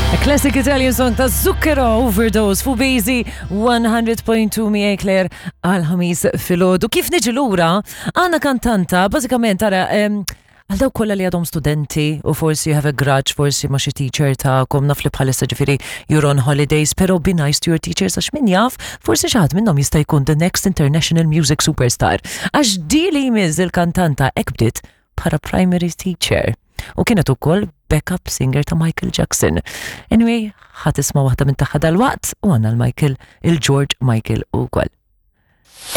A classic Italian song ta' Zucchero Overdose fu Bazy 100.2 miegħi Claire għal ħamis filgħodu. Kif niġi lura, għandna kantanta, bażikament ara għal dawk kollha li għadhom studenti u forsi you have a grudge, forsi ma xi teacher tagħkom naf li bħalissa ġifieri you're on holidays, però be nice to your teachers għax min jaf, forsi xi ħadd minnhom jista' jkun the next international music superstar. Għax di li jmiss il-kantanta hekk bdiet bħala primary teacher u kienet ukoll backup singer ta' Michael Jackson. Anyway, ħa tisma' waħda minn tagħha dal-waqt u għandna l-Michael, il-George Michael ukoll.